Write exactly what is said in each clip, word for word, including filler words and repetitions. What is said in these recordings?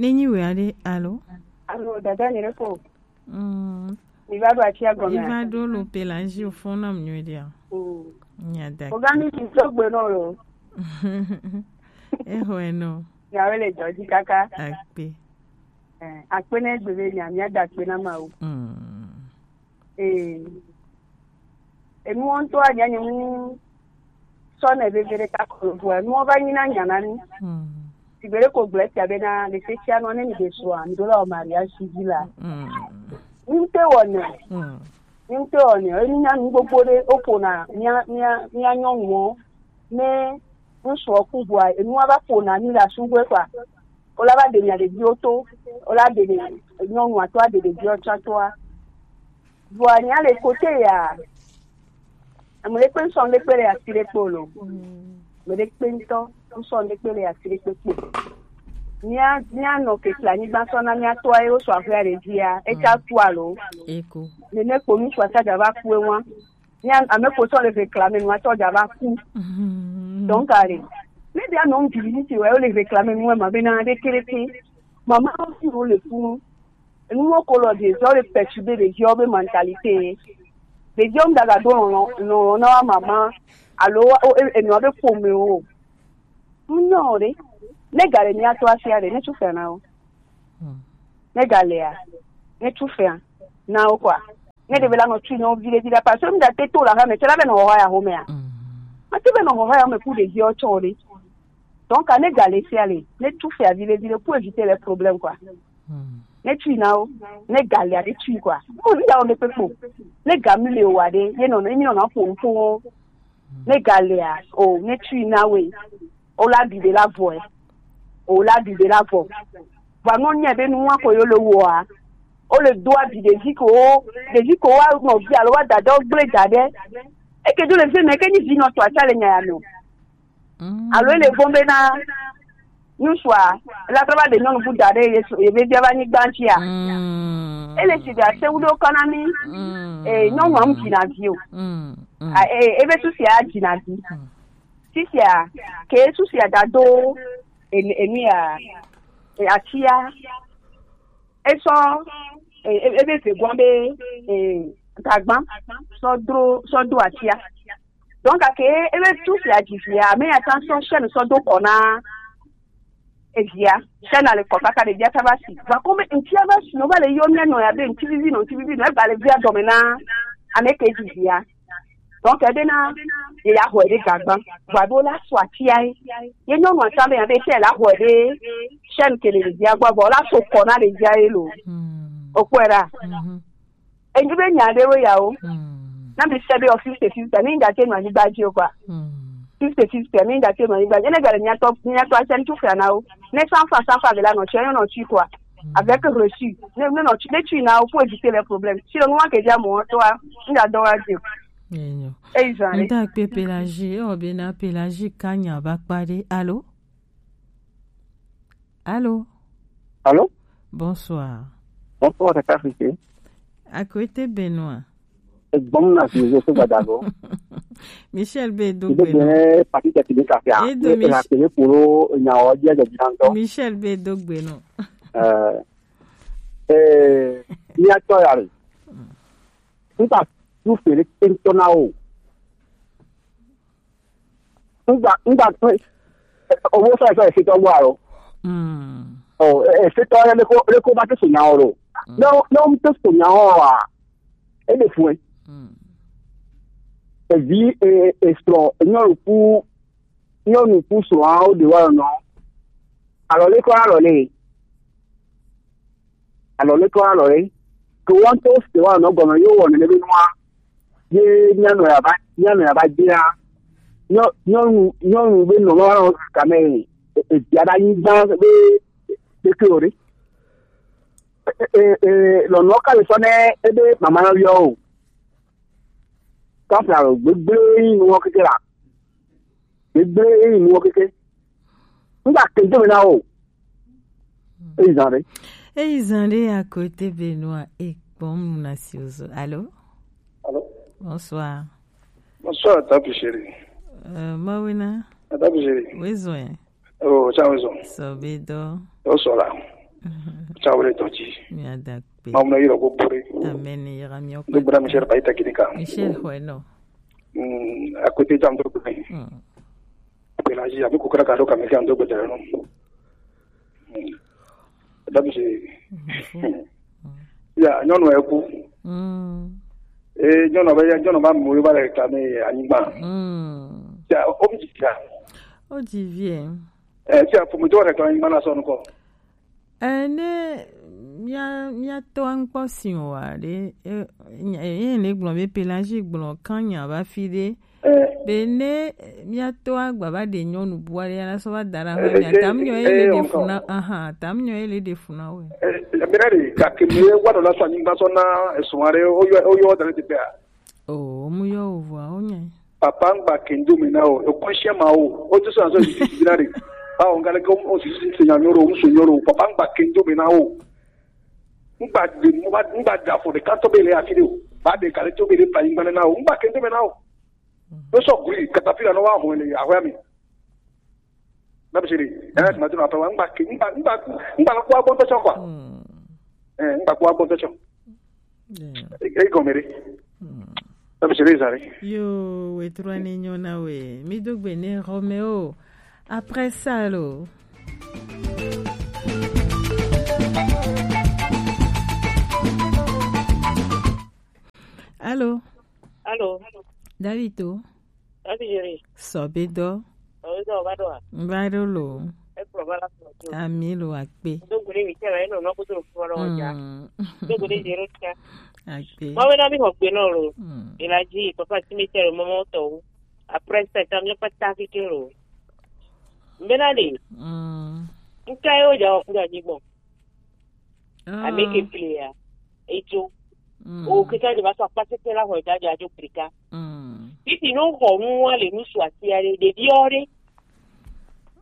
Ne nyi wɛ aɖe, alo? Alo, dada nyere ko. Mm. Mi va ɖo atia gɔme. Mi va ɖo lo Pelagie, o fɔn nam nyuie ɖia. Mm. Nya da. O ga mi di to gbe no lo. Eho eno. Nyawo le dɔ dzi kaka. Akpe. Eh, akpe ne gbe be nya, mia da akpe na Mawu. Mm. Ee. Enuwo ŋutɔ anya nye nu sɔ nɛ veve ɖeka ko lo vɔa, enuwo va nyi na nya na mí. Mm. Sigbe ɖe ko gblɔ esia bena, le sexia nua, ne mi ɖe srɔ̃a, mi ɖo la wɔ mariage civil a. Mm. Mi ŋute wɔ nɛ. Mm. Mi ŋute wɔ nɛ. Enu nya nu gbogbo ɖe, wo ƒona mía, mía, mía nyɔnuwo. Ne ŋutsua ku vɔa, enua va ƒona mí le asugbe kɔa, wo la va ɖe mia ɖeviwo to, wo la ɖe nyɔnua to, aɖe ɖeviwo tsã toa. Vɔa nya le kote ya, ame ɖekpe ŋsɔ ɖekpe le asi ɖekpe o lo. Ame ɖekpe ŋutɔ ŋsɔ ɖekpe le asi ɖekpe kpo. Mía, mía nɔ kekle anyigba sɔ na mía toa ye wo sɔ aƒea ɖe dzia, etsa ku alo. Eko. Nene kpo ŋutsua tsa dza va ku ewa. Mía ame kpo sɔ le réclamer nua tɔ dza va ku. Mhm. Donc, allez. Ne bia nɔ ŋdzi vi ti wɛ, wo le réclamer nua ma bena ɖe kere ke. Mama wo fi wo le funu. Enu wo ko lɔ de zɔ le perturber ɖeviwo be mentalité. Ɖeviwo ŋda ga do lɔlɔ, lɔlɔ na wa mama. Alo, o, e, enua be ƒome o. Ŋnyɔ o ɖe. Ne ga le mía to asia ɖe, ne tsu fɛa na wo. Hmm. Ne ga lea, ne tsu fɛa na wo kɔa. Ne ɖe be la nɔ tsu nɔ viɖe viɖe, parce que mi da te to la hame, tse la be nɔ hɔhɔ ya home ya. Hmm. Ma te be nɔ hɔhɔ ya home ku ɖeviwo tsɔ o ɖe. Donc, ne ga le sia le, ne tsu fɛa viɖe viɖe pour éviter les problèmes, quoi. Hmm. Ne tsu na wo, ne ga lea, ne tsu, quoi. Ko mi da wo me kpekpo. Ne ga mi le o wa ɖe, ye nɔ, ye mi nɔ na ƒo ŋu ƒo wo. Ne ga lea, o, ne tui na we, o la ɖi ɖe la vɔ ɛ. O la ɖi ɖe la vɔ. Vɔ nu nye be nua ko yo le wɔa, o le do abi ɖevi ko, ɖevi ko wa nɔvi alo wa dada wo gble da ɖe. Eke do le fi me, ke nyi vi nɔ to atsa le nya ya me o. Mm. Alo ele vɔn be na ŋutsua, la trɔ va ɖe nyɔnu bu da ɖe ye, ye be bia va nyigba ŋutia. Mm. Ele si ɖe ase wu ɖo kɔ na mi. Mm. Eh, nyɔnua mu dzina vi o. Mm. Mm. A, eh, ebe susia dzina vi. Mm. Fifia, ke susia da do, enu, enu ya, e, atia. Esɔ, e, e, ebe ve gbɔ be, e, gagba, sɔ dro, sɔ do atia. Donc, ake, ebe susia dzi via, me ya ta sɔ chaîne sɔ do kɔ na evia. Chaîne le kɔ kaka ɖevia ta va si. Va ko be ŋutia va si, no va le yɔ mia nɔ ya be ŋuti vivi nɔ, ŋuti vivi nɔ, eba le via dɔme na ame ke dzi via. Donc, ebe na, ye ya xɔe ɖe gagba. Vɔ abe wo la sɔ atia ye. Ye nyɔnua ta be ya be tse la xɔe ɖe chaîne ke le ɖevia gbɔ, vɔ wo la sɔ kɔ na ɖevia ye lo. Hmm. O kpɔe ɖa. Mhm. Enyi be nya ɖewo ya o. Hmm. Na mi se be o fifty fifty, ni ŋda te nɔ anyigba dzi o kɔa. Hmm. Fifty fifty, ni ŋda te nɔ anyigba dzi. Ene ga le mia tɔ, mia tɔ asia ŋutsu fia na wo. Ne cent francs, cent francs be la nɔ tsi, nɔ tsi kɔa. Hmm. Avec reçu. Ne, ne nɔ tsi, ne tsi na wo pour éviter les problèmes. Si le moment que j'ai mon toi, ŋda dɔ wa dzi. Enyo. Eyi zan ɖe. Ŋda kpe Pelagie, ewɔ bena Pelagie ka nya va kpa ɖe. Allô? Allô? Allô? Bonsoir. Bonsoir, Tata Afrique. Akwete Benoît. Egbɔm na si zo so gbadago. Michel be do gbe no. Ne parti technique afia. E do ne Mich- la tele puro nya o dia de dinanto. Michel be do gbe no. Euh, euh, ni ato ya re. Nta tu fere tento na o. Ŋgba, ŋgba, owó sọ ìfẹ́ ìfitọ́ gbọ́ àrò. Mm. Ọ̀, ìfitọ́ yẹn lè kó, lè kó bá tó sònyà ọ̀rọ̀. Mm. Ló, ló ń tó sònyà ọ̀rọ̀ à. É lè fún ẹ. Mm. Èyí, è, è sọ̀rọ̀, èyàn ò kú, èyàn ò kú sọ̀rọ̀ àwọn òde wa ọ̀nà. Àlọ́ lè kọ́ àlọ́ lè. Alɔ leke wa alɔ ye? Ke wɔn to se wa nɔ gɔme yo wɔ nene be nua. Ye mía nɔ ya va, mía nɔ ya va dzia. Nyɔ-, nyɔnu, nyɔnu be nɔ ma nɔ kame e, e, bia ɖe anyigba be, be ke o ɖe. E, e, e, lɔnɔ ka le sɔ ne ebe mama yɔ o. Tɔfla gbegble yi nuwɔ keke la. Gbegble yi nuwɔ keke. Ŋgba ke do me na o. Eyi zan ɖe. Eyi zan ɖe à côté Benoît e kpɔm na si ozo. Allô? Allô? Bonsoir. Bonsoir, Tapi Chéri. Euh, Mawina. Tapi Chéri. Oui, zoe. Oh, ça va, zoe. Sobe do. Oh, sola. Tsawre dɔdzi. Miada kpe. Mawu na yɔrɔ ko bore. Amen. Yɔrɔ mi o. Do bra Michel Baita Kidika. Michel Hoeno. Mm, akote jam do bore. Mm. Pelagie, abi kokara ka do ka mi ka do gbede no. Mm. Dabi se. Ya, nyɔnu eku. Mm. Eh, nyɔnu be, nyɔnu ba mo ba le ka mi anyigba. Mm. Ya, o mi ya. O di vie. Eh, ya, fo mo do le ka anyigba na so nko. Ene mia mia to ankpɔ si o wa ɖe, e, e, e, le gblɔ be Pelagie gblɔ kan nya va fi ɖe. Eh. Be ne mia to agba va ɖe nyɔnu bua ɖe, ya la sɔ va da ɖe aƒe mea, tam nyɔ ye le ɖe fu na, aha, tam nyɔ ye le ɖe fu na we. Eh, eh, mira ɖe, gake mi wa ɖo la sɔ anyigba sɔ na esɔ aɖe, o yɔ, o yɔ da ɖe teƒea. O, mu yɔ o vɔa, o nya. Papa ŋgba kendo me na o, o conscient ma o, o to so na so si si na re. Ba o ngale ko o si si se nya nyoro, o so nyoro, papa ŋgba kendo me na o. Ŋgba de mo ba ŋgba da fo de ka to be le afi de o. Ba de kale to be le pa ŋgba na o, ŋgba kendo me na o. No so guri katapila no wa ho le ahwe mi. Na bisiri. Eh, ma tuna pa ŋgba ke ŋgba ŋgba ŋgba ko agbo to kwa. Mm. Eh, ŋgba ko agbo to. Yeah. E e gomere. Mm. Na bisiri zare. Yo, we trua ni nyona we. Mi do gbe ne Romeo. Après ça lo. Allô? Allô? David o. David Jerry. Sɔbe dɔ. Sɔbe dɔ, ba dɔ a? Ba dɔ lo. E kplɔ ba la kplɔ to. Ami lo akpe. Do gure mi tɛ la, e nɔ nɔ ko to fɔ lɔ ja. Mm. Do gure zero tia. Akpe. Ma we na mi hɔ gbe nɔ lo. Mm. E la ji, papa ti mi tɛ lo, mama o tɔ o. Après ça, ta mi pa ta ki ke lo. Mbena de. Mm. Nka yo ja o kura ji gbɔ. Ah. Ameke player. Ejo. Mm. O kika de ba so akpasete la ho da ja jo plika. Mm. Titi no ho nu wa le nu su ati ya de de bi ore.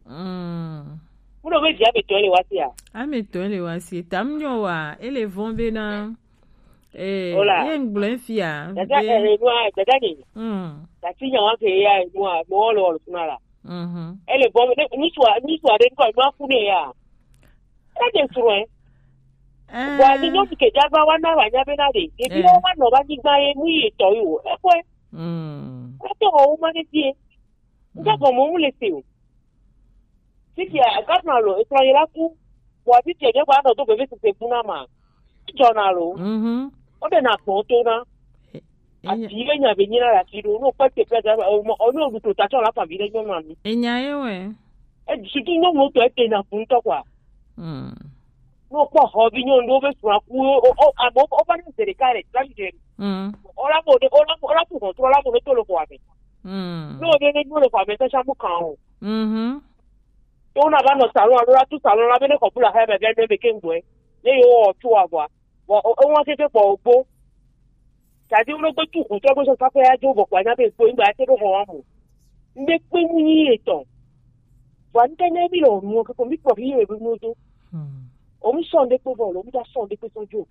Mm. Mu do be dia be to le wa ti a. A me to le wa si. Tam nyo wa, ele von be na. Eh, ola. Ye ngble fia. Dada, be eh, no, dada ni. Mm. Tati nya wa ke ya, no, no, lo, lo, na la. Mhm. Ele bon, ne, ni sua, ni sua de ko ma ku ne ya. Ka de suru e. Eh. Wa ni no ke ja ba wa na wa nya be na de. E bi eh. Wa no ba ni gba e mu ye to yo. E ko e. Mm. Ko to o ma de tie. Nga mm. Ko mo mu le se o. Titi a ka na lo, e tra ye la ku. Wa titi e ba no to be be se ku na ma. Jona lo. Mhm. O de na ko to na. Ati ye nya be nyina la kido no pa te pe da o no du to ta cho la pa bi de nyɔnu ami. Enya ye we. E sutu no mo to e te na fun to kwa. Mm. No po ho bi nyɔnu do be sura ku o o abo o ba ni zere kare ta bi de. Mm. O la mo de o la mo la ku ko to la mo de to lo kwa be. Mm. No de ne mo le kwa be ta sha mu kan o. Mhm. To na ba no salon lo la tu salon la be ne ko bula ha be be be ke ngwe. Ne yo o tu agwa. Bon, o, o ŋua keke kpɔ o gbo. Tadi wo ɖo gbe tu kun tɔ gbe sɔ faƒe ya dzo bɔ kɔ anya be gbo ŋgba ya te ɖo xɔ wa mo. Ŋɖe kpe mu nyi etɔ. Vɔ ŋke ne mi le o nuwo keke mi kpɔ fi ye be nu do. Hmm. O mu sɔ ŋɖe kpe vɔ lo, mi da sɔ ŋɖe kpe sɔ dzo.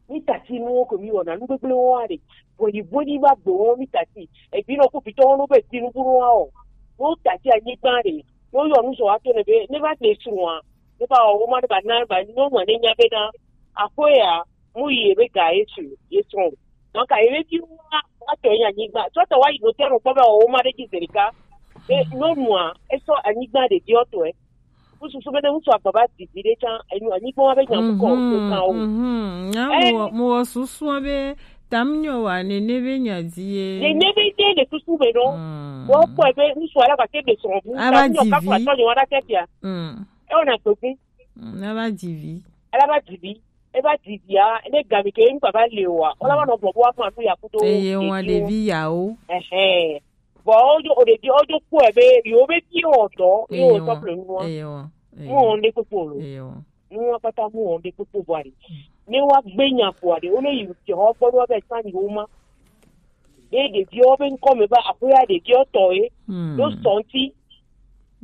Mi tati nuwo ke mi wɔna nu gbegble wo wa ɖe. Bɔyi bɔyi va gbe wo mi tati. Ebi nɔ ku pitɔ wo no be ti nu kuru wa o. No tati anyigba ɖe. Ne woyɔ nu zɔ ato ne be ne va de srɔ̃a, ne va wɔ woma ne va na va nyɔnua ne nya be na aƒe ya mu yi ebe ga ye su ye srɔ̃ o. Donc ayi be fi wa wa tɔ yi anyigba. Sɔ tɔ wa yi no tɛ no kpɔ be wɔ woma ɖe dzi zerika. Be nyɔnua esɔ anyigba ɖe di ɔtɔe. Kususu be ne ŋutsu agba va didi ɖe tsã enyo anyigba wa be nya mu kɔ o kan o. Mhm. Nya mo wɔ susua be tam nyɔ wa nene be nya di ye. Nene be de le susu be no. Wo kpɔe be ŋutsu ala gake ɖe srɔ̃ bu. Ava di vi. Tɔ nyɔ wa ɖa tɛ fia. Mm. E wona gbegbe. Mm, ava di vi. Ala va di vi. E va di via, ne gami ke ŋgba va le wa. Ola va nɔ gbɔ bo wa fún atu ya kudo. Eye wa ɖevi yawo. Ɛhɛn. Vɔ wodzo o ɖevi wodzo kpɔe be yewo be fi wɔ dɔ ye wo sɔ ple nua. Eye wa. Mu wɔn ɖe kpekpe o lo. Eye wa. Nua kpata mu wɔn ɖe kpekpe bɔ aɖe. Ne wa gbe nya bɔ aɖe, wo ne yi te xɔ gbɔ ɖo be sanni wo ma. Be ɖeviwo be ŋkɔ me be aƒea ɖeviwo tɔ ye. Hmm. Ɖo sɔnti.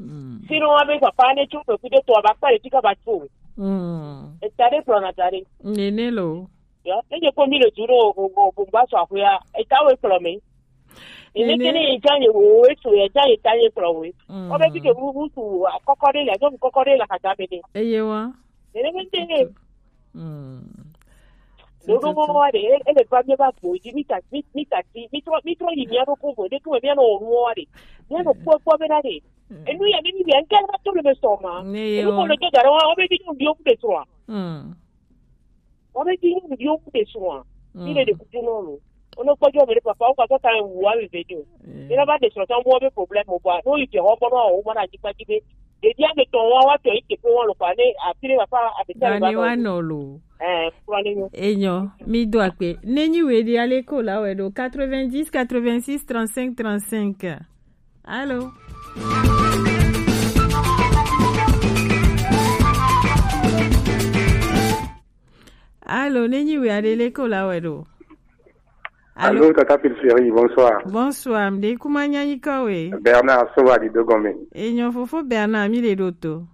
Hmm. Sinon wa be papa ne tso kpekpe ɖe tɔ aba kpa ɖe fika ba tso. Hmm. Eta ɖe kplɔ na ta ɖe. Nene lo. Ya, ne nye kpɔ mi le du ɖo o o o gba sɔ aƒea, eta wo kplɔ me. Ene ke ne ye dza ye wo wo eso ye dza ye ta ye kplɔ wo. Mm. Wo be bi ke wu wu su kɔkɔ ɖe le, nyɔnu kɔkɔ ɖe le xadza me ɖe. Eye wa. Nene mende. Hmm. Dodo mo wa de, e, e le va mi va bo, di mi ta, mi, mi ta, di, mi tro, mi tro yi mi ado ko bo, de ko mi ano nu wa de. Mi ano ko ko be na de. Hmm. E nu ya mi mi ya nka na to le me so ma. Ne e nu ko yo. Le ke dara wa, o be di nu di o ku de so a. Hmm. O be di nu di o ku de so a. Mi le de ku no lo. Ono kpɔjɔ mi ɖe papa, wo katã ta wu awi ve do. Mi la va ɖe srɔ̃ tɔn mɔ be problème o kɔa. No yi ke xɔ kpɔ no o mana dzi kpa dzi be. Ɖevi ame tɔn wa wa tɔ yi ke ko wa lo kɔa ne afi ɖe papa ame tɔn va nɔ. Wa nɔ lo. Eh, kura ne nyo. Enyo, mi do akpe. Ne nyi we di ale ko la we do quatre-vingt-dix quatre-vingt-six trente-cinq trente-cinq. Allô? Allô, ne nyi we aɖe le ko la wɛ ɖo. Allô? Allô, Tata Pilseri, bonsoir. Bonsoir, mde kuma nyanyi kawe. Bernard Sowa di Dogome. Enyo fofo Bernard, mi le ɖo to.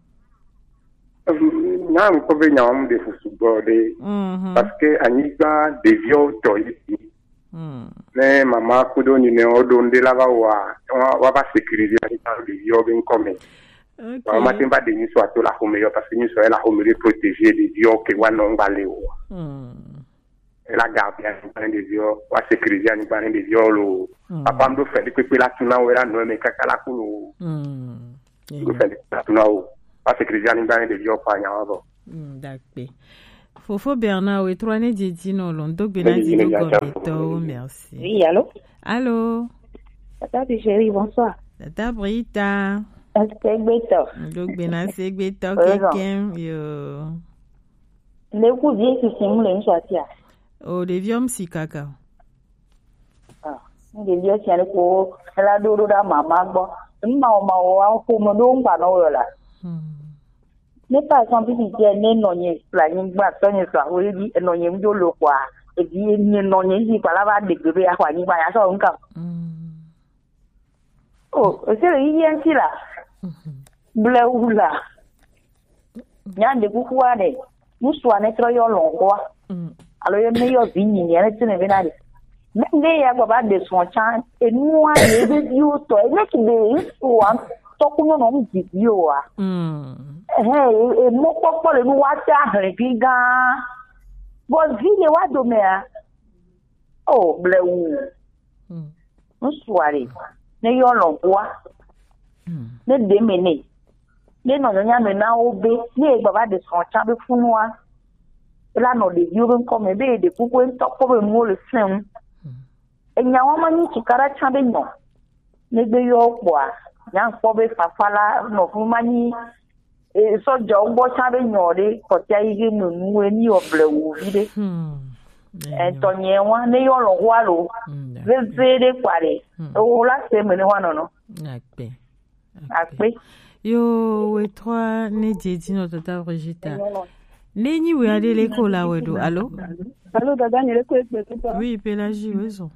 Na mi ko be nyawo mu de fusu gbɔ de. Mhm. Parce que anyigba ɖeviwo tɔ yi. Hmm. Ne mama kudo nyinɛ wo ɖo ŋɖe la va wa, wa, wa va sécuriser anyigba ɖeviwo be ŋkɔ me. Ok. Wa ma te va ɖe nyisɔ ato la xɔme yɔ, parce que nyisɔ la xɔme ɖe protéger ɖeviwo ke wa nɔ ŋgba le o. Hmm. E la garder anyigba ne ɖeviwo, wa sécuriser anyigba ne ɖeviwo lo. Hmm. Papa ŋɖo fɛ ɖe kpekpe la tuna wo la nɔ me kaka la ku lo. Hmm. Ŋɖo fɛ ɖe kpekpe la tuna wo. Wa sécuriser anyigba ne ɖeviwo kɔ anya wa bɔ. Hmm, dakpe. Fofo Bernard, we trois ne didi no lo, ŋdo gbe na di do gɔmetɔwo, merci. Oui, allô? Allô? Tata Chérie, bonsoir. Tata Brita. Segbetɔ. Ŋdo gbe na segbetɔ kekem, yo. Ne ku vie sisi mu le ŋsɔ tia. O, ɖeviwo mu si kaka. Ah, ne ɖeviwo sia le ko, ela ɖo ɖo ɖa mama gbɔ. Ŋma o ma o, a ko mo ɖo ŋgba nɔ wo la. Hmm. Ne par exemple, si tiɛ ne nɔ nye kple anyigba tɔ nye sɔ awo ebi enɔ nye ŋdzo lo kɔa, ebi ne nɔ nye zi kpa la va ɖe gbe be axɔ anyigba ya sɔ ŋka. Mm. O, ese le yi yɛn ti la. Mhm. Blewu la. Nya de kukua de. Musua ne trɔ yɔ lɔn kɔa. Mm. Alo ye me yɔ vi nyi ne tene be na de. Ne, ne ya gbɔ va ɖe srɔ̃ tsã, enua ye be viwo tɔ, ene ki be ŋutsu wa tɔ ku nyɔnu ŋu dzi vi o wa. Mm. Ehe, e, e mɔkpɔkpɔ le nu wa te ahlẽ vi gã. Vɔ vi le wa domea. O, blewu. Mm. Ŋutsu a le. Ne yɔ lɔn kua. Mm. Ne ɖe me ne. Ne nɔ nyanya me na wo be, ne e gbava ɖe srɔ̃ tsã be funua, e la nɔ ɖeviwo be ŋkɔ me be ɖe kuku ŋutɔ kpɔ be nuwo le fɛm. Enya wa ma nyi tukaɖa tsã be nyɔ. Ne gbe yɔ kpɔa, nya kpɔ be fafa la nɔ fu ma nyi, e, sɔjawo gbɔ tsã be nyɔ ɖe kɔtia yi ge me nu e ni yɔ blewu vi ɖe. Hmm. Etɔ nye wa, ne yɔ lɔ wa lo. Hmm, veve ɖe kpa ɖe. Hmm. Ewo la se me ne wa nɔnɔ. Akpe. Akpe. Yo, we trois ne dze dzi nɔ tata Brigitte. Ne nyi we aɖe le ko la we ɖo. Alo? Alo, dada, nye le ko egbe to. Oui, Pélagie, we zɔ.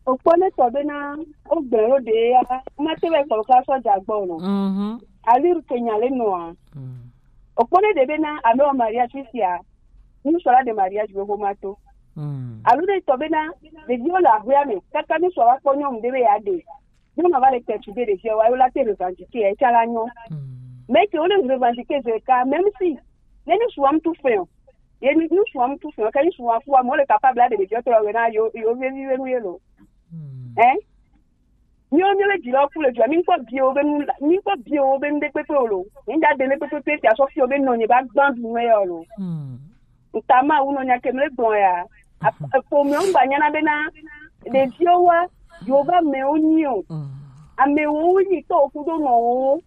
Okpɔ ne tɔ bena, o gbɛ ro de ya, ma te be kpɔ ka sɔ dza gbɔ no. Mhm. Ali ru ke nya le noa. Mm. Okpɔ ne de bena, ame o mariage fifia. Nous sera de mariage be ko ma to. Mm. Alo ne tɔ bena, de di o la hwe ame, kaka nous sera kpɔ nyɔnu de be ya de. Nyɔnu va le perturber ɖeviwo wa, yo la te revendiquer, etsã la nyɔ. Hmm. Mais ke wo le revendiquer ze ka, même si, ne ŋutsua mu tu fɛn o. Ye ni ŋutsua mu tu fɛn o, ke ŋutsua ku wa, mo le capable de ɖeviwo tɔ wɛ na yo, yo vevi ve nu ye lo. Hmm. Hein? Miwo, miwo le dzi lɔ ku le dua, mi kpɔ biwo be nu, mi kpɔ biwo be nu ɖe kpekpe o lo. Mi da de ne kpekpe pe tia sɔ fi o be nɔ nye ba gban du nu ye o lo. Hmm. Ŋta Mawu nɔ nya ke mle gblɔ ya. Ƒomea ŋgba nyana bena ɖeviwo wa, yewo va amewo nyi o. Mm. Amewo nyi tɔ kudo nɔwo.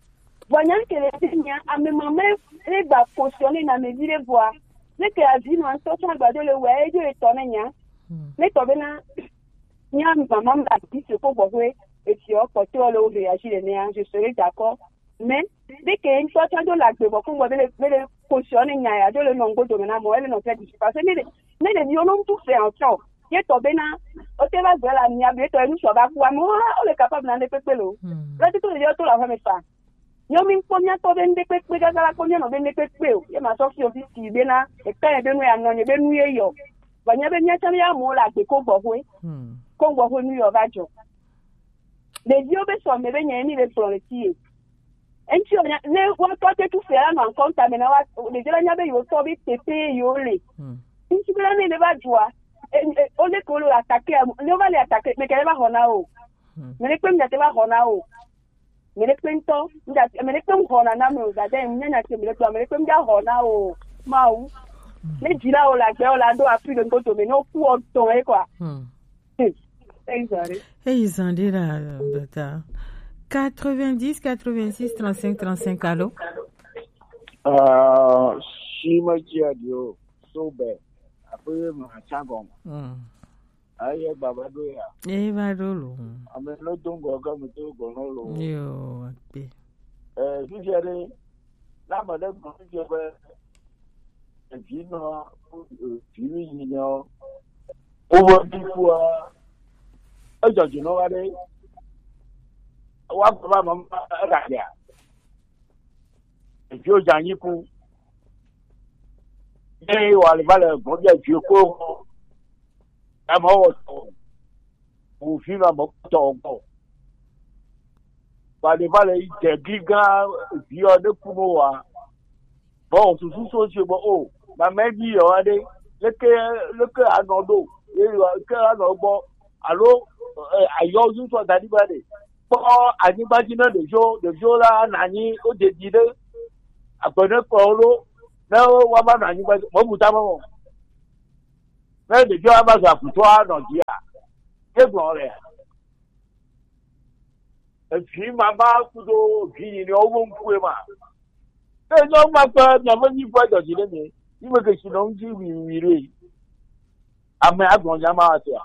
Vɔ nya ke le fi nya, ame mamɛ le gba fonctionner na ame vi ɖe vɔa. Ne ke avi nɔ ŋutɔ tsã agbado le wɛ, edzo etɔ ne nya. Mm. Ne tɔ bena, nya mama ma di se ko gbɔ ƒe, efiɔ kpɔtɔ le wo réagir le nea, je serai d'accord. Mais, dès que ŋutɔ tsã do le agbe bɔ kungɔ be le, be le kosɔ ne nya ya do le nɔ ŋgo dome na mɔ, ele nɔ fia didi. Parce que ne le, ne le mi ono ŋutu fɛ ɔtsɔ, ye tɔ bena, o te va gbɛ la mia be tɔ enu sɔ va ku amewo hã, o le capable na ne kpekpe lo. Hmm. Le tito le to la fɛ me fa. Nyɔ mi kpɔ mia tɔ be ŋde kpekpe gaga la kpɔ mia nɔ be ŋde kpekpe o. Ye ma sɔ fi o fi si bena, e ka ye be nu ya nɔ nye be nu ye yɔ. Vɔ nya be mia tsã mia mo le agbe ko gbɔ hoe. Hmm. Ko gbɔ hoe nu yɔ va jɔ. Ɖeviwo be sɔme be nye mi be kplɔ le tie. Eŋti o nya ne wa tɔ te tu fia la nɔ ankɔ ta me na wa ɖevi la nya be yewo tɔ be tete yewo le. Hmm. Ŋti be la ne ne va dzua. E, e, o le ko lo attaquer, ne o va le attaquer, me kɛ va xɔ na o. Hmm. Me ne kpe mi te va xɔ na o. Me ne kpe ŋtɔ, mi da, me ne kpe xɔ na na me o, da de mi nya nya te me ne kpe, me ne kpe mi da xɔ na o. Mawu. Hmm. Ne dzi la o la gbe o la do appui de ŋkoto me ne o ku o tɔn e quoi. Hmm. Eyi zan ɖe. Eyi zan ɖe la, dɔta. Quatre-vingt-dix, quatre-vingt-six, trente-cinq, trente-cinq, allô? Ah, si ma dzi adio, so be, aƒe ma tsa gɔme. Mm. Ayi gba va ɖo ya. Eyi va ɖo lo. Ame no do ŋgɔ ke me do gɔ no lo. Yo, akpe. Eh, fifia ɖe, na ame ɖe gblɔ fifia be, evi nɔ, evi mi yi nɔ, wobe bi kua, edzɔ dzi nɔ wa ɖe, wa gbe ba mama, egadia. Eviwo dze anyi ku. Ye wa le va le gbɔn bia vi ko. Ame wɔ tɔ. Wo vi ma me tɔ gbɔ. Wa le va le yi dze gli gã vi ɔ ɖe ku no wa. Bɔ susu so si bɔ o. Mame vi yɔ wa ɖe. Leke, leke anɔ ɖo. Ye wa ke anɔ gbɔ. Alo, eh, ayɔ zu tɔ da ɖi ba ɖe. Kpɔ anyigba dzi ne ɖeviwo, ɖeviwo la nɔ anyi, wodze dzi ɖe agbe ne kplɔ wo ɖo, ne woava nɔ anyigba dzi, mɔbu tame mɔ. Ne ɖeviwo ava zɔ akutɔ anɔ dzia, ye gblɔ lea? Evi mama kudo vi yi ne wo ŋkue ma. Ne nyɔnu ma kpe miaƒe nyiƒe dzɔdzi ɖe mi, yi me ke si nɔ ŋdzi wiwi ɖe. Ame agblɔ nya ma wa tea?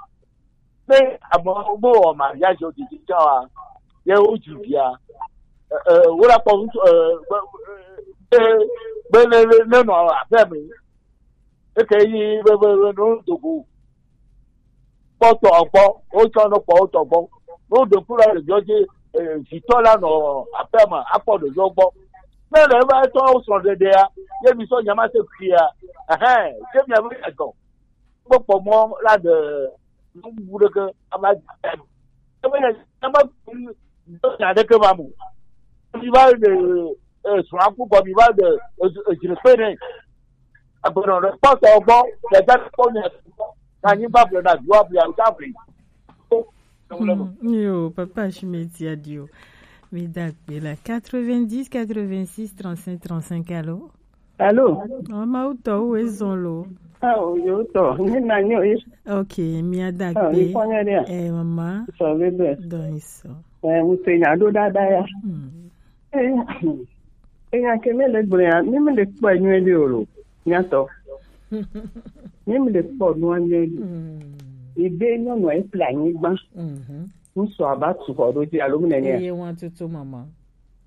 Ne ame wo wɔ mariage o didi tsã wa, ye wo dzi via, e, e, wo la kpɔ ŋutsu, e, be, be, be ne, ne, ne nɔ aƒe me, eke yi be, be, be no dogo. Kpɔtɔ gbɔ, wotsɔ no kpɔ wotɔ gbɔ. No ɖe ku la le viɔ dzi, e, vitɔ la nɔ aƒe me, akpɔ ɖeviɔ gbɔ. Ne le eva etɔ wo srɔ̃ɖeɖea, ye mi sɔ nya ma se kuia, ɛhɛn, ke mi ave ya gɔ. Kpɔkpɔ mɔ la ɖe nubu ɖeke ava dza. Ebe ne, ne me do nya ɖeke va mo. Mi va ɖe, e, srɔ̃a ku gɔ, mi va ɖe, e, e, dzre kpe nɛ. Agbenɔ ɖe kpɔtɔ gbɔ, ɖe dza kpɔ nya. Na nyigba ble na dua ble, awu ta ble. Hmm, yo, papa Shimeti adio. Mi da gbe la quatre-vingt-dix, quatre-vingt-six, trente-cinq, trente-cinq, allô? Allô? Oh, ma utɔ, où est-ce lo? Ah, oh, yo, to. Ni na nyo, eh. Ok, mi ada Ah, gbe. Mi fanya dia. Eh, mama. So, bebe. Don iso. Eh, mo se nya do dada ya. Hmm. Eh, eh, ya ke me le gblɔ ya, mi me le kpɔ nyuie ɖe o lo. Nya tɔ. Mi me le kpɔ nua nyuie ɖe. Hmm. Ebe nyɔnu e ple anyigba. Mhm. Ŋutsu ava tu xɔ ɖo dzi alo mu nene. Eye wan tutu mama.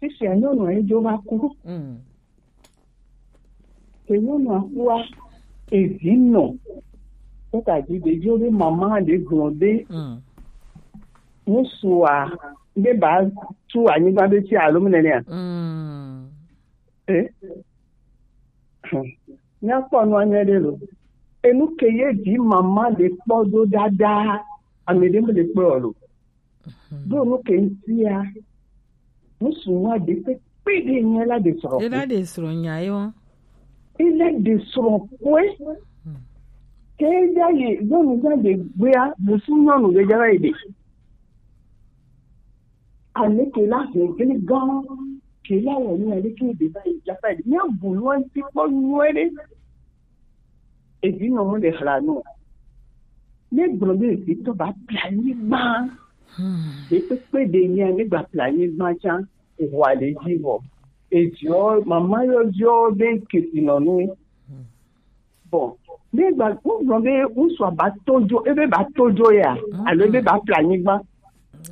Fifia nyɔnu e dzo va ku. Mm. Ke nyɔnua kua, evi nɔ. Kɔta dzi ɖeviwo be mama ɖe gblɔ be Mm. ŋutsua be ba tu anyigba be tsi alo mu nenea. Mm. Eh? Míakpɔ nua nyuie ɖe lo. Enu ke ye vi mama ɖe kpɔ do dada, ame ɖe me le kpɔ lo. Ɖo nu ke ŋutia, ŋutsu nua ɖe kpekpe ɖe nye la ɖe srɔ̃. Ela ɖe srɔ̃ nya ye wa. Ela ɖe srɔ̃ kɔe. Ke ya yi nyɔnu ya ɖe gbea, musu nyɔnu ɖe ya yi ɖe. Ame ke la he gli gã, ke la wɔ nu ale ke ɖe va yi dza va yi. Míabu nua ŋuti kpɔ nyuie ɖe. Evi nɔ mu le hla nu. Ne gblɔ be evi tɔ ba ple anyigba. Hmm. Ɖe kpekpe ɖe nya ne gba ple anyigba tsã, eʋua le dzi vɔ. Eviɔ, mama yɔ viɔ be kesi nɔ nu. Hmm. Bon, ne gba, wogblɔ be ŋutsua ba to dzo, ebe ba to dzo ya, Mm-mm. alo ebe ba ƒle anyigba.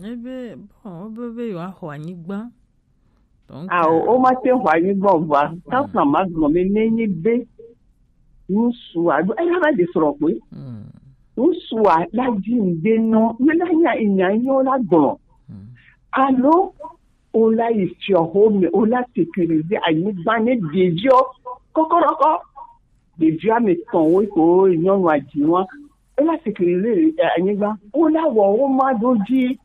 Ebe, bon, wobe be yewoaxɔ anyigba. Donc, Ao, euh, womate ŋu xɔ anyigba o vɔa, Mm. tafla ma gblɔ be nenye be ŋutsua, ela va ɖe srɔ̃ koe. Mm. Ŋutsua la dzi ŋde nɔ, ne la nya, nya nyɔ la gblɔ. Mm. Alo, wola yi fiɔxome, wola sécuriser anyigba ne ɖeviwo kɔkɔɖɔkɔ. Ɖevia me tɔn wo ko nyɔnua dzi wa. Wola sécuriser, eh, anyigba. Wola wɔ wo ma ɖo dzi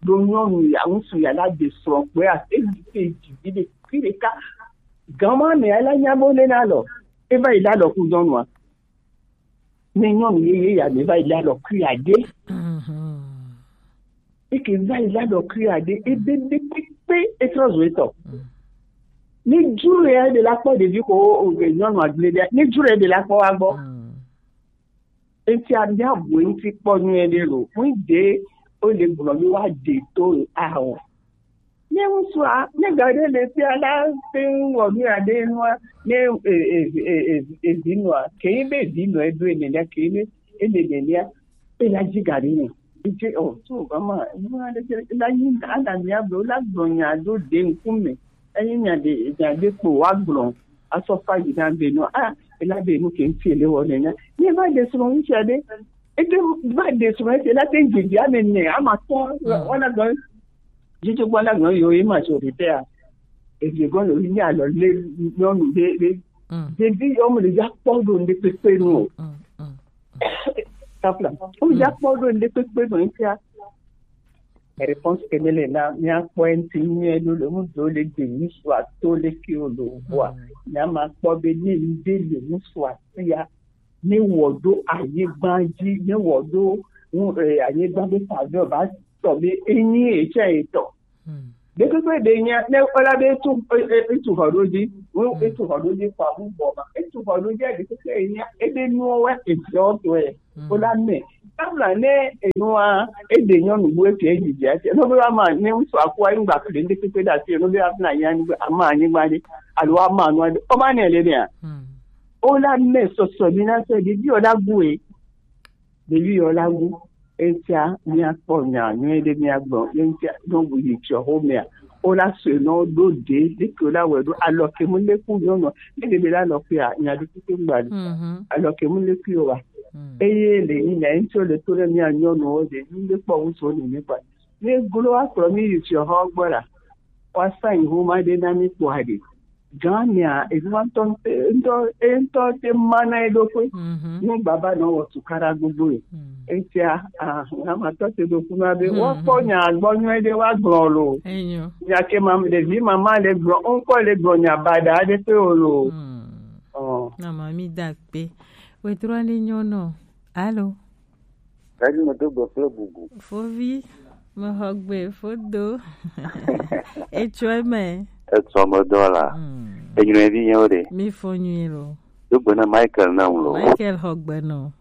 ɖo nyɔnu ya, ŋutsu ya la de srɔ̃ kpɔe a, eyi ke dzi vi ɖe. fi ɖeka. Gama mɛ ala nya bo le na lɔ. E va yi la lɔ ku nyɔnua. Ne nyɔnu yeye ya mɛ va yi la lɔ ku ya de. Eke va yi la lɔ ku ya de. Ebe de kpekpe etrɔ zo etɔ. Ne juru ya de la kpɔ ɖevi ko o, o, nyɔnu agble de. Ne juru ya de la kpɔ wa gbɔ. Enti abia bu enti kpɔ nyuie ɖe lo. Ŋu de o le gblɔ mi wa de to awo. Ne ŋutsua, ne ga ɖe le fia la te ŋu wɔ nu aɖe nua, ne e, e, e, e, e, vi nua, ke yi be vi nua edo ene lia, ke yi be ene ene lia, e la dzi ga ɖe ne. Ŋutsu o, tu o gama, nu aɖe ke la yi ana mia be, la gblɔ nya do de ŋkume. Eyi nya de, nya de kpo wa gblɔ, asɔ fa yi na be nua, a, e la be nu ke ŋuti ele wɔ ne nya. Ne va de srɔ̃ ŋutsu aɖe, ete va de srɔ̃ ete la te ŋu didi ame ne, ama tɔ, wala gblɔ. Dzidzɔ gbɔ la gblɔ yo ye ma tso ɖe tea. Evi gɔ le yi alɔ le nyɔnu ɖe ɖe. Ɖevi yɔ mo le ya kpɔ ɖo ŋɖe kpekpe nu o. Kapla. Mo ya kpɔ ɖo ŋɖe kpekpe nu etia. Réponse ke ne le na mia kpɔ ŋti nyuie ɖo le ŋu do le gbe ŋu sua to le ke o lo bua. Mia ma kpɔ be ne ŋɖe le ŋu sua sia. Ne wɔ ɖo anyigba dzi, ne wɔ ɖo ŋu, eh, anyigba be faveur va tɔ be enyi etsɛ etɔ. Ɖekpekpe ɖe nya, ne wala be etu, e, e, etu xɔ ɖo dzi, ŋu etu xɔ ɖo dzi kɔ awu bɔ ma, etu xɔ ɖo dzi ɖekpekpe nya, ebe nuwo wɛ eviɔ tɔɛ, wala mɛ. Kabla ne enua, ede nyɔnu bu efi edzidzi ati, no be wa ma, ne ŋutsu aku anyigba kple ɖekpekpe ɖe asi, no be wa fina nya anyigba, ama anyigba ɖe, alo ama nua ɖe, o ma ne le ɖea? Wala mɛ sɔsɔ mi na sɔ ɖevi wala gu e. Ɖevi wala gu. Etia mia kpɔ nya nyuie ɖe mia gbɔ. Etia no bu yi tsɔ ho mea. Wala sɔ no do de, de ke wala wɛ do alɔ ke mu le ku nyɔnu. Ne ɖe be la lɔ ku ya, nya ɖe ku ke gba le. Alɔ ke mu le ku yo wa. Eye le ni na ŋutsu le to ɖe mia nyɔnu wo de, ni le kpɔ wu so ni mi kpa. Ne glo wa kplɔ mi yi tsɔ ho gbɔ la. Wa sa yi ho ma ɖe na mi kpɔ aɖe. Gan mea, evi wa ŋutɔ, ŋutɔ, ŋutɔ te ma na eɖokui. Nu baba nɔ wɔ tukaɖa gbogbo yi. Etia, ah, ŋa ma tɔ te ɖo kuna be, woakpɔ nya gbɔ nyuie ɖe woagblɔ lo. Nya ke ma, ɖevi mama le gblɔ, ŋkɔ le gblɔ nya baɖa aɖe pe o lo. Ɔ. Na ma mi da kpe. Wetrɔ ni nyɔnu. Alo. Eɖi me do gbe kple bubu. Fovi, mexɔ gbe fodo. Etsɔe me. Etsɔ me dɔ la. Enyɔe vi nyewo ɖe. Mi fo nyui lo. Do gbe na Michael na ŋu lo. Michael xɔ gbe nɔ.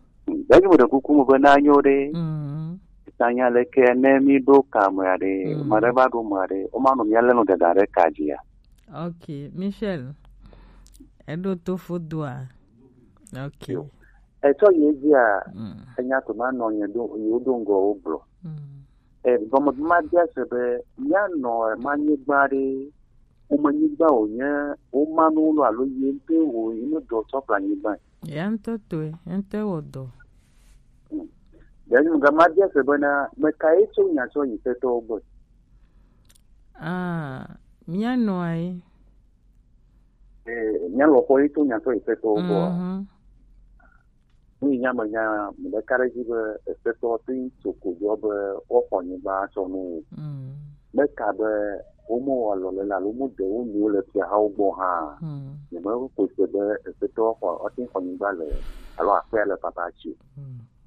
Eɖi me ɖe kuku me be na nyo ɖe. Tanya le ke ne mi ɖo ka me aɖe, ma ɖe va ɖo me aɖe, o ma nɔ mia le nɔ dada ɖe ka dzi ya. Ok, Michel, eɖo to fodoa. Ok. Etsɔ yi edzia, enya to ma nɔ nye ɖo, yewo ɖo ŋgɔ wo gblɔ. E, gɔme ma bia se be, mía nɔ ma nyigba ɖe, wome nyigba wònye, woma nu lo alo ye ŋutɔ wò, yi ne dɔ tsɔ kple anyigba. Ya ŋutɔ tɔe, ya ŋutɔ wɔ dɔ. Ɖe nu ga ma bia se bena, meka ye tso nya tsɔ yi fetɔwo gbɔ? Ah, mía nɔa ye. Eh, mía lɔƒɔ ye tso nya tsɔ yi fetɔwo gbɔ. Nu yi nya me nya, me ɖeka ɖe dzi be, efetɔ te ŋu tso kodoa be woaxɔ anyigba atsɔ nu o. Meka be womewɔ alɔlele alo womeɖe wo nɔewo le fiahawo gbɔ hã. Nyemexɔe se be efetɔ xɔ, woate ŋu xɔ anyigba le, alo aƒea le papa tsi o.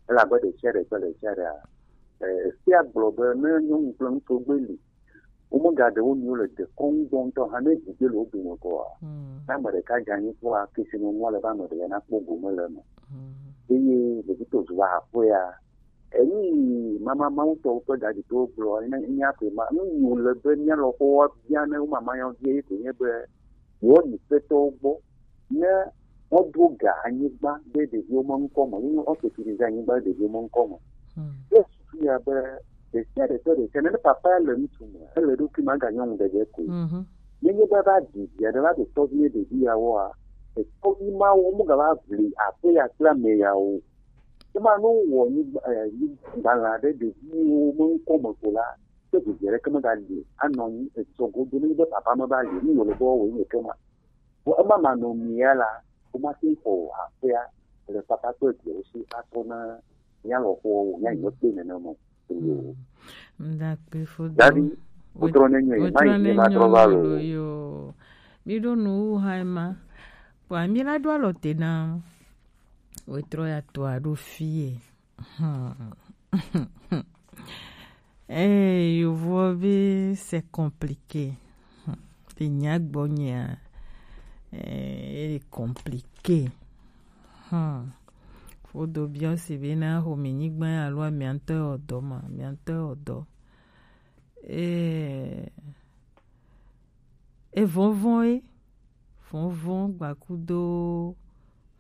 Elabe ɖe sia ɖe kple ɖe sia ɖea, eh, efia gblɔ be ne nyɔnu kple ŋutsu gbe li, womegaɖe wo nɔewo le dekɔnu gbɔ ŋutɔ hã, ne vi gbe le wo dome kɔa, ne ame ɖeka dze anyi kpɔa, kesinɔnua le be ame ɖeka nakpɔ gome le eme. Eye vevitɔ zu va aƒea, enu yi mama mawu tɔwo ƒe daditɔwo gblɔ, ne mía ƒe ma, nu yi wòle be mía lɔƒowo bia ne wo mama yɔ vie ye ko nye be, yewoayi fetɔwo gbɔ ne woɖo ga anyigba ɖe ɖeviwo me ŋkɔ me, ye woasécurise anyigba ɖe ɖeviwo me ŋkɔ me. Ye susu ya be ɖe sia ɖe tɔ ɖe sia, ne papa le ŋutsu me, ele eɖokui me aga nyɔnu ɖeɖe koe. Nenye be va ɖi via ɖe va ɖe tɔvi ye ɖevi yawoa, etɔvi mawo womegava ʋli aƒe ya kple ame yawo o. Ema ne wowɔ nyigba, eh, nyigbalã ɖe ɖeviwo me ŋkɔ me ko la, ke vivi aɖeke megali anɔ anyi etsɔ godo nenye be papa meva li o, nu yi wòle be woawɔe nye eke ma. Vɔ ema manɔmea la, womate ŋu xɔ aƒea le papa kple viawo si atrɔ na mía lɔƒoawo, mía yi mekpɔe nenema o. Ŋdakpe fo do. Davi, wotrɔ ne nyuie, mayi ne matrɔ va lo. Yo. Mi ɖo nu wu hã ema. Kpɔa, mi la ɖo alɔ te na wetrɔ ya tɔ a ɖo fie. Hmm. Eh, yovo be c'est compliqué. Hmm. Te nya gbɔ nyea, eh, ele compliqué. Hmm. Fodo biɔ si be na xo mi nyigba alo amiantɔ ɔdɔ ma, amiantɔ ɔdɔ. Eh, e vɔvɔn e, vɔvɔn gbakudo,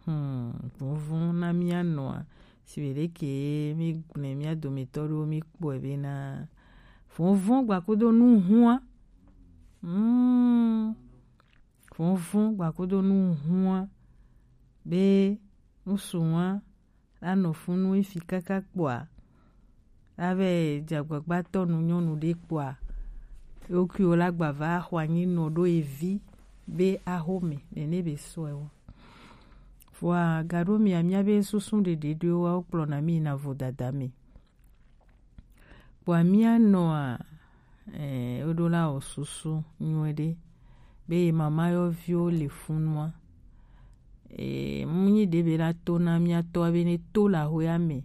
hmm, vɔvɔn na mia nɔa, si be ɖeke mi gblẽ mia dometɔ ɖo mi kpɔe be na, vɔvɔn gbakudo nu hua, hmm, vɔvɔn gbakudo nu hua, be nusu hua, la nɔ funu efi kaka kpɔa, la vɛ dze agbagba tɔ nu nyɔnu ɖe kpɔa, ewokuiwo la gba va xɔ anyi nɔ ɖo evi be axome nene be sɔe wo. Vɔa gaɖo mia mia be susu ɖeɖe ɖoe wa wo kplɔ na mi na vodada me. Kpɔa mia nɔa, eh, woɖo la wɔ susu nyuie ɖe be ye mama yɔviwo le funua. Eh, mu nyi ɖe be la to na mia tɔ be ne to la hoe ame.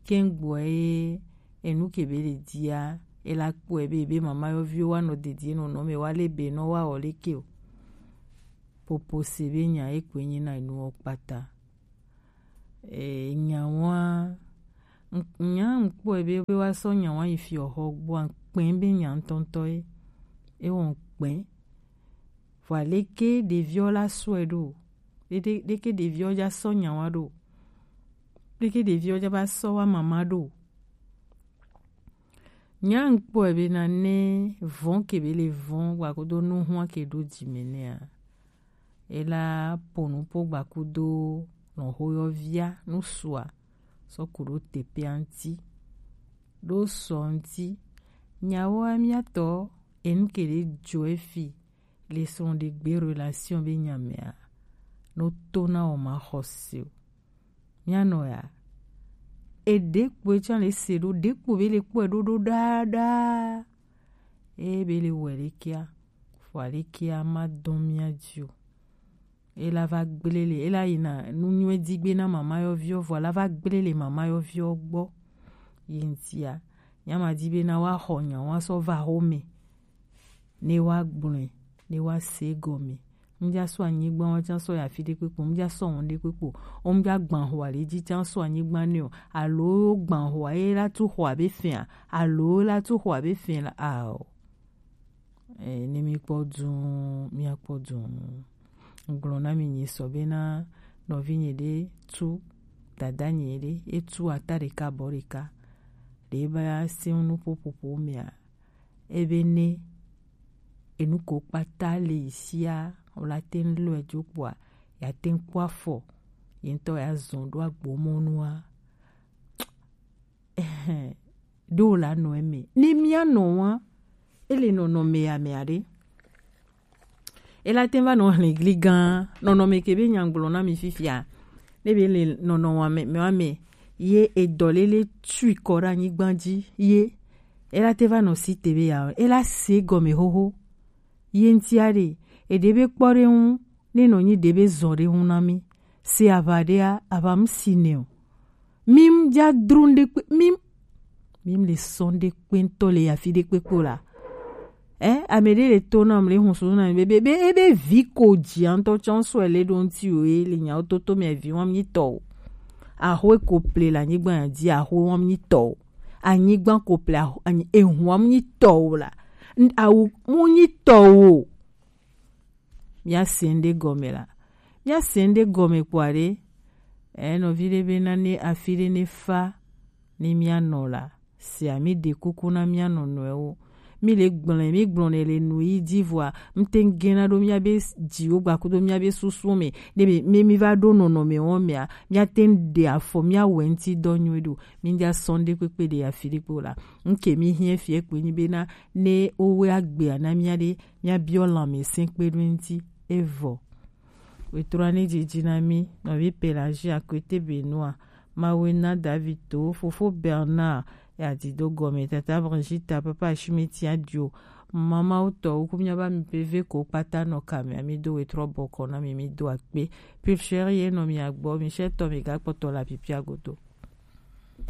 Kɛŋgbɔ ye enu ke be le dia, e la kpɔe be, be mama yɔviwo wa nɔ dedie nɔnɔ me wa le be nɔ wa wɔ leke o. Popo se be nya e kpe nyi na enuwo kpata. Eh, nyawa, nya ŋkpɔe be, be wa sɔ nyawa yi fi oxɔ gbɔ ŋkpɛ be nya ŋtɔŋtɔ ye. E wɔ ŋkpɛ. Vɔa leke ɖeviɔ la sɔe ɖo. Ɖeke ɖeviɔ ja sɔ nyawa ɖo. Ɖeke ɖeviɔ ja ba sɔ wa mama ɖo. Nya ŋkpɔe be na ne vɔn ke be le vɔn wa kodo nu hua ke ɖo jime nea. Ela ponu po gbakudo nɔ hoyɔvia nusua sɔ ku ɖo teƒea ŋti. Ɖo sɔ ŋti. Nyawoa miatɔ enu ke ɖe jɔ efi le srɔ̃ɖegbe relation be nyamea no to na o ma xɔse o. Mianɔ ya. Eɖe kpoe tsã le se ɖo, ɖe kpo be le kpɔe ɖo ɖo ɖaa ɖaa. Eye be le wɔ ɖekea, fɔ ɖekea ma dɔn mia dzi o. Ela va gblẽ le, ela yina nu nyuie di gbe na mama yɔviɔ, vɔ la va gblẽ le mama yɔviɔ gbɔ. Yi ŋtia, nyama di be na wa xɔ nya wa sɔ va xome. Ne wa gblɔe, ne wa se gɔme. Ŋdza sɔ anyigba wa tsã sɔ ya fi ɖe kpekpe, ŋdza sɔ wɔn ɖe kpekpe. O ŋdza gbã xɔ ale dzi tsã sɔ anyigba ne o. Alo gbã xɔ ye la tu xɔ abe fia. Alo la tu xɔ abe fia la ao. Eh, ne mi kpɔ duu, mia kpɔ duu. Ŋgblɔ na mi nyi sɔ be na nɔvi nyi ɖe tu dada nyi ɖe, etu ata ɖeka bɔ ɖeka. Ɖe ba si nu ƒoƒoƒo mea, ebe ne enu ko kpata le yi sia, wòla te ŋu lɔe dzo kpɔa, ya te ŋu kpɔ afɔ, ye ŋutɔ ya zɔn ɖo agbomɔnua. Ɖo la nɔ eme. Ne mia nɔ wa, ele nɔnɔme ya me aɖe. Ela te va nɔ hlẽ gli gã, nɔnɔme ke be nyagblɔ na mi fifia. Ne be le nɔnɔ wa me, me wa me, ye edɔlele tui kɔ ɖe anyigba dzi, ye ela te va nɔ si te be ya, ela se gɔme xoxo. Ye ŋtia ɖe, eɖe be kpɔ ɖe ŋu, ne nɔ nyi ɖe be zɔ ɖe ŋu na mi. Se aʋa ɖea, aʋa mu si nɛ o. Mi mu ja dro ŋɖe kpe, mi mu, mi mu le sɔ ŋɖe kpe ŋutɔ le afi ɖe kpekpe o la. Eh, ame ɖe le to na mu le hun susu na mi be, be, be, ebe vi ko dzi ŋutɔ tsɔ sɔe le ɖo ŋuti o, ye le nyawo toto me vi wɔm nyi tɔ o. Axwe ko ple le anyigba ya dzi, axwe wɔm nyi tɔ o. Anyigba ko ple, aho-, anyi-, ehu wɔm nyi tɔ o la. N-, awu mu nyi tɔ o. Mia se ŋɖe gɔme la. Mia se ŋɖe gɔme kpɔa ɖe. Eh, nɔvi ɖe be na ne afi ɖe ne fa ne mia nɔ la. Sia mi ɖe kuku na mia nɔnɔewo. Mi le gblẽ, mi gblɔ ne le nu yi dzi vɔa, mi te ŋu gena ɖo mia be dziwo gbakudo mia be susuwo me. Ne mi, mi, mi va ɖo nɔnɔme wo mea, mia te ŋu ɖe afɔ, mia wɔ ŋuti dɔ nyuie ɖo. Mi ŋdza sɔ ŋɖe kpekpe ɖe afi ɖe kpe o la. Ŋke mi hiɛ fie kpe nyi be na ne wo wɛ agbea na mia ɖe, mia biɔ lãmesẽ kpe ɖo ŋuti. Evɔ. Wetrɔ ne dzidzi na mi, nɔvi Pelagie Akwete Benoît, Mawena David To, Fofo Bernard, ya di do gɔme, Tata Brigitte, Papa Ashimeti Adio, Mama wutɔ wuku miaba mi peve ko kpata nɔ kame ami do wetrɔ bɔkɔ na mi mi do akpe. Pulcher ye nɔ mi agbɔ mi sɛ tɔ mi ga kpɔtɔ la pipia godo.